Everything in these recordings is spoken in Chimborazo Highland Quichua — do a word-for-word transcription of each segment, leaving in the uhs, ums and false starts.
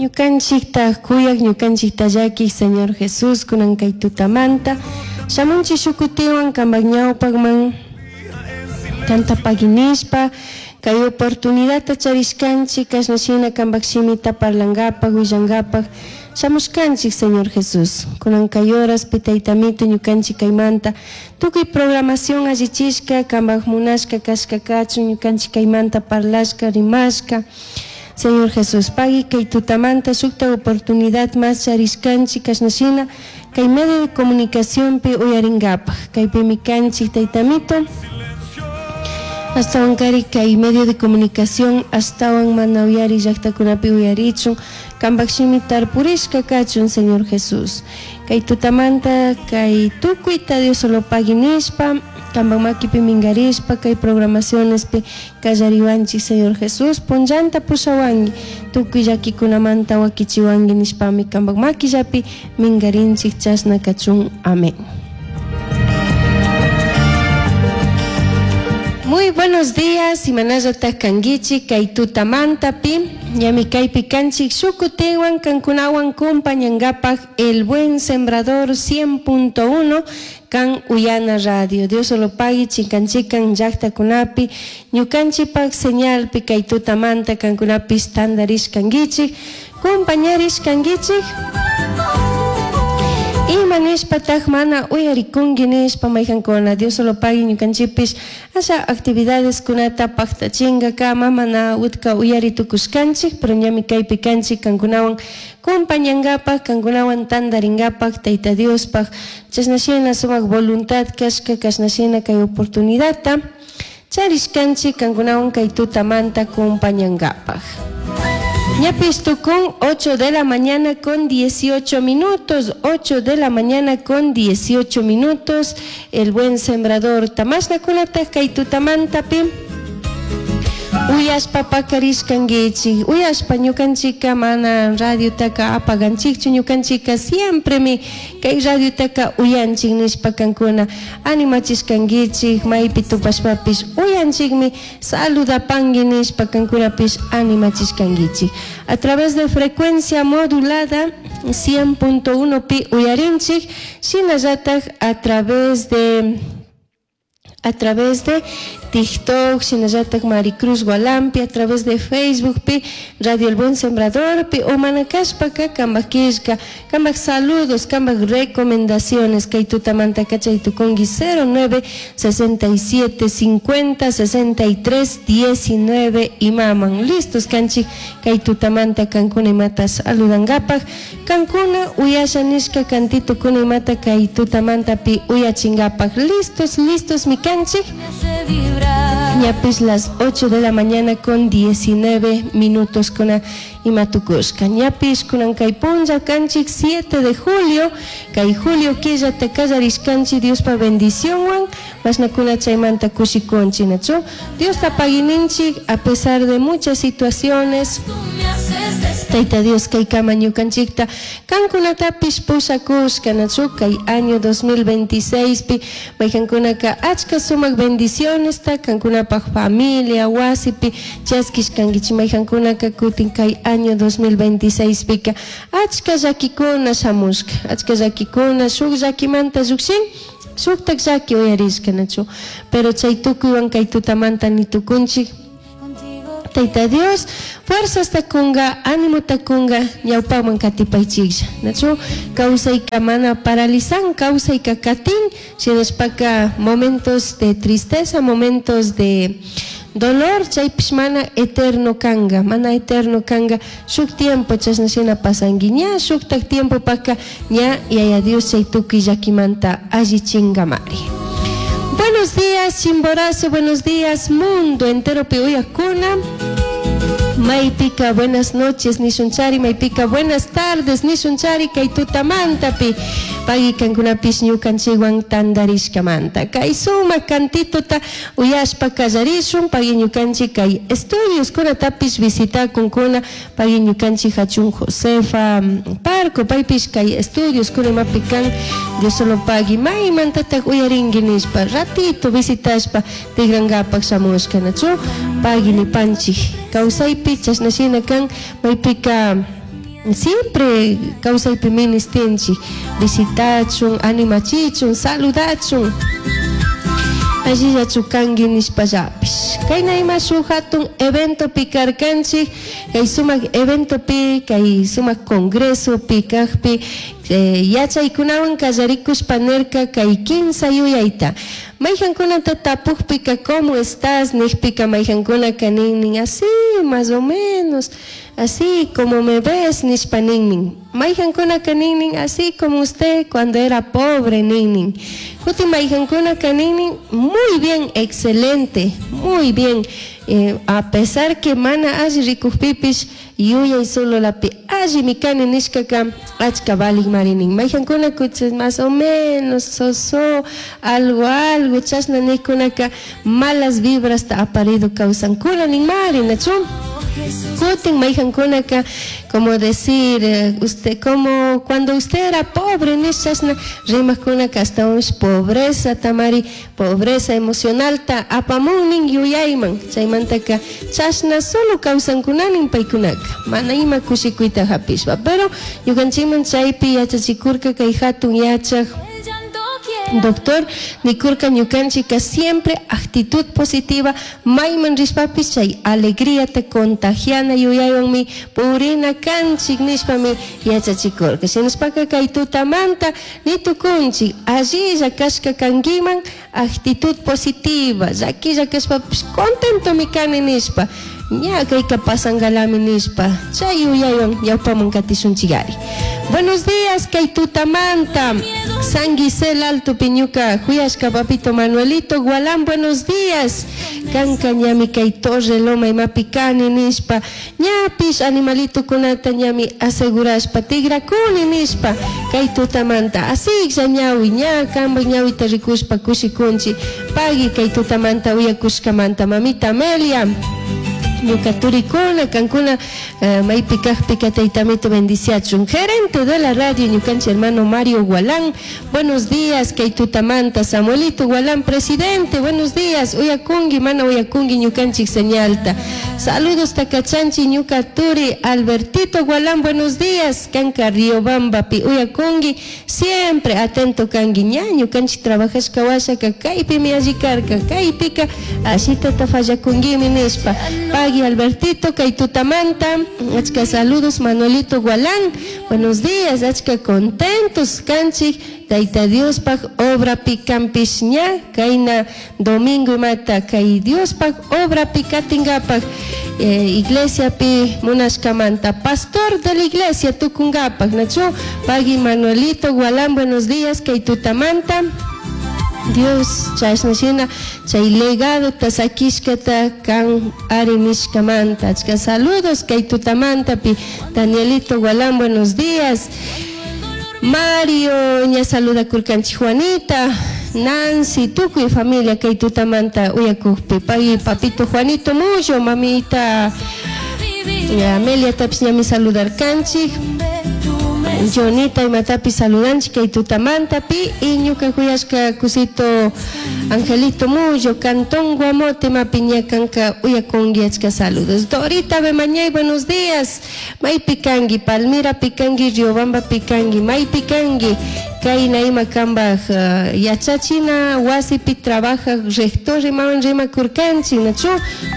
Ñukanchikta kuyaq, ñukanchikta llakiq Señor Jesús, kunan kay tutamanta shamunchik shukutiwan kanpak ñawpakman kanta paginishpa kay oportunidadta charishkanchik kashna shina kanpak shimita parlangapak, willangapak shamushkanchik Señor Jesús. Kunan kay horaspi Taytamito ñukanchik kaymanta tukuy programación allichishka kanpak munashka kashka kachun ñukanchik kaymanta parlashka, rimashka. Señor Jesús, pagui kay tutamanta shukta oportunidad más charishkanchik kashna shina kay medio de comunicacionpi uyaringapak. Kaypimi kanchik Taytamito. Astawan kari kay medio de comunicación astawan mana uyari llaktakunapi uyarichun kanpak shimi tarpurishka kachun Señor Jesús. Kay tutamanta kay tukuyta Dios solo pagui nishpa kanpak makipi mingarishpa kay programacionespi kallariwanchik Señor Jesús, punllanta pushawanki tukuy llakikunamanta wakichiwanki nishpami kanpak makillapi mingarinchik chashna kachun. Amén. Muy buenos días, imanallataq kankichik kay tutamantapi, ñami kaypi kanchik shukutiwan kankunawan kumpañankapak El Buen Sembrador cien punto uno kan Uyana Radio. Dios solo pagui chikan chikan llaqtakunapi ñukanchikpak señalpi kay tutamanta kankunapis tantarish kankichik, kumpañarish kankichik. Ima nishpataq mana uyarikunki nishpa mayqankuna Dios solo pagui ñukanchikpish asha actividades kunata paqtachinkakama mana utka uyari tukushkanchik, pero ñami kaypi kanchik kankunawan kumpañankapak, kankunawan tantarinkapak Tayta Diospaq chashna shina sumak voluntad kashka kashna shina kay oportunidadta charishkanchik kankunawan kay tutamanta kumpañankapak. Ñapis tukun ocho de la mañana con dieciocho minutos, ocho de la mañana con dieciocho minutos, El Buen Sembrador tamashna kunataq kay tutamantapi uyashpa pakarishkankichik, uyashpa ñukanchikka mana radiotaka apaganchikchu, ñukanchikka siempremi kay radiotaka uyanchik nishpa kankuna animachishkankichik, maypi tupashpapish uyanchikmi saludapanki nishpa kankunapish animachishkankichik. A través de frecuencia modulada cien punto uno pi uyarinchik, shinallatak a través de a través de TikTok, shinallatak Maricruz Gualampi, a través de Facebook, pi Radio El Buen Sembrador, pi omanakashpaka kambak killka, kambak saludos, kambak recomendaciones, kay tutamanta kachay tukunki cero nueve sesenta y siete cincuenta sesenta y tres diecinueve imaman. Listos kanchik kay tutamanta kankuna imata saludangapak, kankuna uyasha nishka kantito kuna imata kay tutamanta pi uyachingapak. Listos, listos mi kanchik. Ñapis las ocho de la mañana con diecinueve minutos con imatukushka. Ñapis kunan kay punlla kanchik siete de julio, kay julio killa te kallarishkanchik Diospa bendicionwan, mashnakuna chaymanta kushikunchik, nachu. Dios ta pagininchik a pesar de muchas situaciones. Tayta Dios kay kama ñukanchikta kankunatapish pushakushka, nachu, kay año dos mil veintiséis pi mayqankunaka achka sumak bendiciones ta kankunapaq familia wasipi chaskishkankichik, mayqankunaka kutin kay año dos mil veintiséis pika achka llakikuna shamushka, achka llakikuna shuk llakimanta llukshin shuktak llaki uyarishka, nachu, pero chay tukuywan kay tutamanta nitukunchik. Tayta Dios, fuerzas takunga, ánimo takunga, ñawpaman katipaychiklla. Nachu, kawsayka mana paralizan, kawsayka katin, shinashpaka momentos de tristeza, momentos de dolor, chaypish mana eterno kanga, mana eterno kanga, shuk tiempo chashna shina pasanki, ña shuktak tiempo paka, ña yaya Dios chay tukuy llakimanta allichingamari. Buenos días, Chimborazo, buenos días, mundo entero piuyakuna. Maypika, buenas noches, nishunchari, maypika, buenas tardes, nishunchari, kay tutamantapi. Pagui kankunapish ñukanchikwan tantarishkamanta. Kay sumak kantituta uyashpa kallarishun, pagui ñukanchik kay estudios kunatapish visitakunkuna, pagui ñukanchik hachun Josefa Parco, paypish kay estudios kunapi kan, Dios solo pagui, maymantatak uyarinki nishpa, ratito visitashpa, tigrankapak shamushka, nachu, pagui nipanchik. Kawsaypi chashnashina kan, maypika Siempre kawsaypi ministinchik visitachun, animachichun, saludachun. Allillachu kanki nishpallapish. Kayna ima shuk hatun eventopi karkanchik, kay sumak eventopi, kay sumak congresopi kajpi, eh, yachaykunawan kallarikushpa nirka kay kinsa yuyayta. Mayjankunata tapukpika ¿cómo estás? Nijpika mayjankunaka ninnin así, más o menos, así como me ves, nishpa ninnin. Mayjankunaka ninnin así como usted cuando era pobre, ninnin. Kutin mayjankunaka ninnin muy bien, excelente, muy bien. Eh, a pesar que mana alli rikukpipish yuyay solo lapi alli mikani nishkaka achka valik marinin. Mayjankuna kuchis más o menos, soso, algo, algo, chashna nijkunaka malas vibras ta aparido kawsankuna nin mari, nachu? Kutin mayjankunaka, como decir, eh, usted, como cuando usted era pobre, nishchashna rimajkunaka hasta un pobreza tamari, pobreza emocional ta apamunnin yuyayman, chaymantaka chashna solo kawsankunanin paykunaka, mana ima kushikuyta hapishpa, pero ñukanchikman chaypi yachachikurka kay hatun yachaj doctor nikurka ñukanchika siempre actitud positiva mayman rishpapis chay alegría te contagiana yuyaywanmi purina kanchik nishpami yachachikurka. Shinashpaka kay tutamanta nitukunchik allilla kashka kankiman actitud positiva llakilla kashpapish contentomi kani nishpa ña kayka pasangalami nishpa chay yuyaywan ñawpaman katishunchikari. Buenos días kay tutamanta San Gisel Alto Piñuca, Huyashka Papito Manuelito Gualán, buenos días. Kanka ñami kay Torre Loma imapikani nishpa, ñapish animalito kunata ñami asegurashpa, tigrakuni nishpa, kay tutamanta, asiklla ñawi, ña kamba ñawita rikushpa kushikunchi, pagui kay tutamanta uyakushkamanta, mamita Amelia. Ñuka turikuna, kankuna, eh, maypi kajpika taytamito bendiciachun. Gerente de la radio, ñukanchi hermano Mario Gualán, buenos días, kay tutamanta, Samuelito Gualán, presidente, buenos días, uyakungi, mana uyakungi, ñukanchik señalta. Saludos takachanchi, ñuka turi, Albertito Gualán, buenos días, kanka Riobambapi, uyakungi, siempre atento kangi, ña, ñukanchik trabajashka washaka, kaypimi allikarka, kaypika, ashita tafallakungimi nishpa. Pagui Albertito, kay tutamanta, achka saludos Manuelito Gualán, buenos días, achka contentos, kanchik, Tayta Diospaj obra pikampish ña, kayna domingo imata, kay Diospaj obra pikatingapaj, eh, iglesia pi munashkamanta, pastor de la iglesia tukunkapaj, nachu, pagui Manuelito Gualán, buenos días, kay tutamanta. Dios chashna shina chay legado tasakishkata kan ari nishkamanta. Achka saludos kay tutamanta pi Danielito Gualán, buenos días. Mario ña saluda kurkanchi Juanita, Nancy, tukuy familia kay tutamanta uyakukpi. Pagui papito Juanito Mullo, mamita Amelia tapis ñami saludar kanchik. Jonita imatapi saludanchik kay tutamanta pi y ñuka huyashka kusito Angelito Mullo, Cantón Guamote, mapiña kanka uyakungi achka saludos. Dorita Bemañay, buenos días. May pikangi, Palmira pikangi, Riobamba pikangi, may pikangi. Kayna ima kambaj uh, yachachina wasipi trabaja rector rimawan rimakurkanchik nachu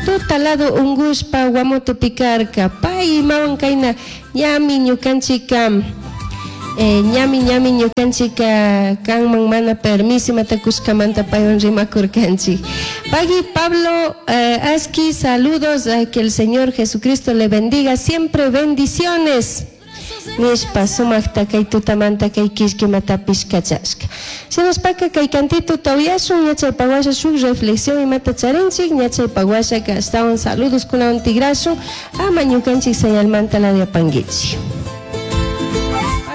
tutalado ungushpa Guamote pikarka pay imawan kayna ñami ñukanchika Eh, ñami ñami ñukanchika kanman mana permiso imatakushkamanta paywan rimakurkanchik. Pagui Pablo eh, Aski, saludos, eh, que el Señor Jesucristo le bendiga siempre, bendiciones. Nishpa sumakta kay tutamanta kay kishki matapish kachashka. Shinaspaka kay kantito tawiyashun ñachaypawasha shuk reflexión imata charinchik ñachaypawasha ashtawan saludos kunawan tigrashun ama ñukanchik señalmanta la diapanguichik.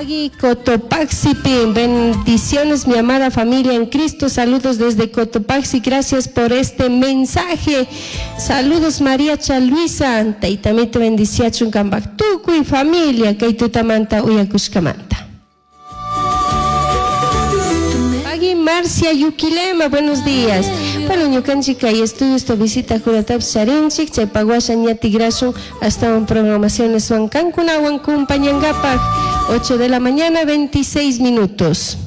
Pagui Cotopaxi, bendiciones mi amada familia en Cristo, saludos desde Cotopaxi, gracias por este mensaje. Saludos María Chaluisa, taytamito bendiciachun kambak tukuy familia, kay tutamanta uyakushkamanta. Pagui Marcia Yuquilema, buenos días. Bueno, ñukanchik kay estudiosta visitakunatapish charinchik, chaypak washa ña tigrashun ashtawan programacioneswan kankunawan compañangapak. ocho de la mañana, veintiséis minutos.